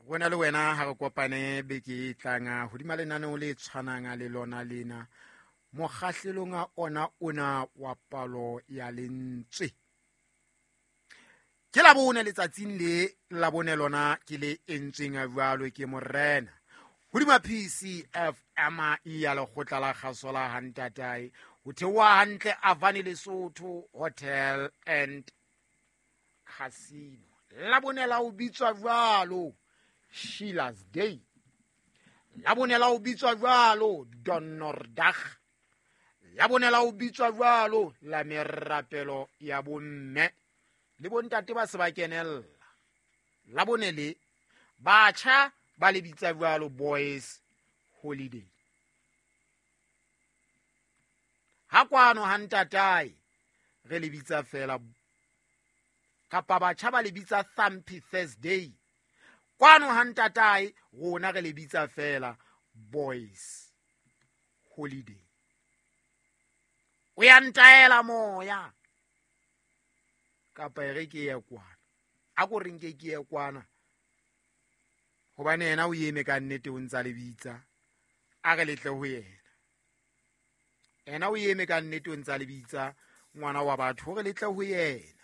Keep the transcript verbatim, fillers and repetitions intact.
Rona le wena ha re kopane beke e tlang hodima lenaneo le tshwanang le lona lena, mokgahlelong a ona ona wa palo ya lentswe. Ke Labone letsatsing le Labone lona ke le entsweng jwalo ke morena hodima P C F M ya lekgotla la kgaso la ha ntatae, ho theoha hantle Avani Lesotho Hotel and Casino. Labone la o bitswa jwalo Sheila's Day, Labone la o bitswa jwalo Donnerdag, Labone la o bitswa jwalo la merapelo ya bomme le bontate ba se ba kenella. Labone le batjha ba le bitsa jwalo Boys Holiday. Ha kwano ha ntatae re le bitsa fela, kapa batjha ba le bitsa Thumpy Thursday. Kwano ha ntatae rona re le bitsa fela Boys Holiday. O ya ntaela moya kapa e re ke ye kwana, a ko re nke ke ye kwana, hobane yena o eme ka nnete o ntsa le bitsa, a re letle ho yena. Yena o eme ka nnete o ntsa le bitsa ngwana wa batho hore letle ho yena.